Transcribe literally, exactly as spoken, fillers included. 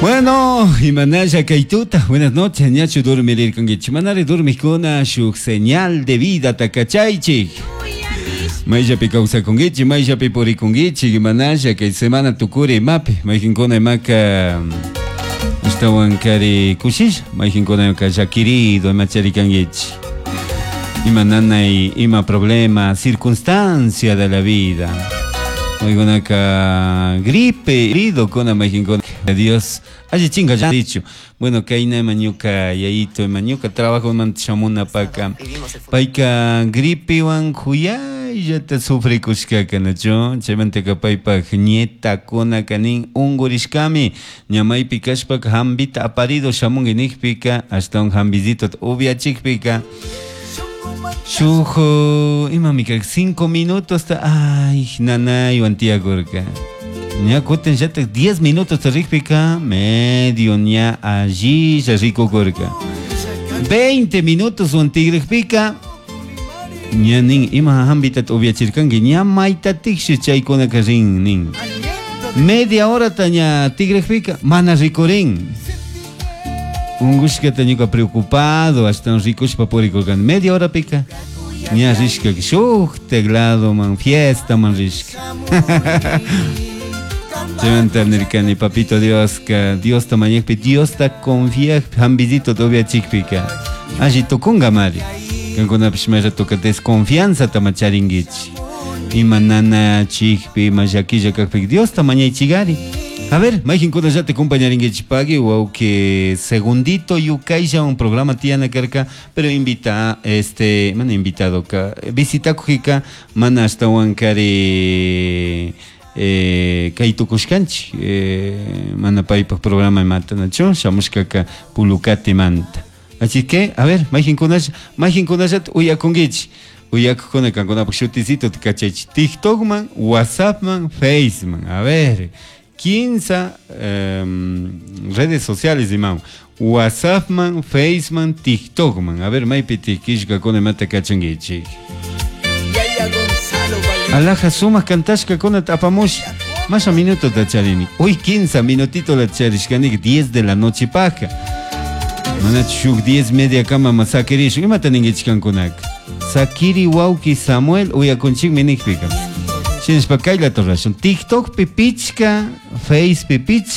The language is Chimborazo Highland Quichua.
Bueno, imanalla kaytuta, buenas noches, ñachu dormirirkankichik, manari dormikuna shuk señal de vida takachaychik. Mayllapi kawsakunkichik, mayllapi purikunkichik, imanalla kay semana tukuri imapi, mayqinkuna imaka ashtawan kari kushisha, mayqinkuna llakirido imacharikankichik. Ima nanay, ima problema, circunstancia de la vida. Maykunaka gripe, herido kuna mayqinkuna Dios alli chinga dicho. Bueno, kayna ima ñuka yayito ima ñuka trabajo man shamunapaka payka gripewan kuyayllata sufrikushkaka nachu chaymantaka paypak nietakuna nin unkurishkami ña maypi kashpaka hambita aparido shamunki nikpika ashtawan hambisito upiachikpika shuk imami karka cinco minutos ta ay nanaywan tiyakurka ña kutin llatak diez minutos rikpika medio ña allilla rikukurka veinte minutos wan tigrikpika ña nin ima hambita upiachirkanki ña maytatikshi chaykunaka rin nin media horata ña tigrikpika mana rikurin unkushkata ñuka preocupado ashtawan rikushpa purikurkani media horapika ña rishka shuk tecladoman fiestaman rishka chaymanta nirkani papito Dioska Diosta mañakpi Diosta confiakpi hambisito upiachikpika alli tukungamari kankunapish may ratoka desconfianzata ma charinkichik ima nanachikpi ima llakilla kakpika Diosta mañaychikari. A ver, mayqinkunallata compañarinkichik pagui wawki segundito yukaylla un programa tiyana karka pero invita este mana invitado ka visitakuqika mana ashtawan kari eh, kay tukushkanchik eh, mana paypak programa imata nachu shamushkaka Pulucatimanta. Así que, a ver, mayqinkunalla mayqinkunallata uyakunkichik uyakukuna kankunapak shutisito kachaychik TikTokman, WhatsAppman, Faceman. A ver, quince eh, redes sociales imam WhatsAppman, Faceman, TikTokman. A ver, maypi tikishkakuna imata kachankichik. Alaja sumak kantashkakunata apamush masha minutota charini. Hoy quince minutito la charishkanika diez de la noche paja. Mana shuk diez media kama ma sakirishun imata ninkichik kankunaka. Sakiri wawki Samuel uyakunchikmi nikpika. Shinashpa kayllata rurashun TikTokpi pichka, Facepi pichka.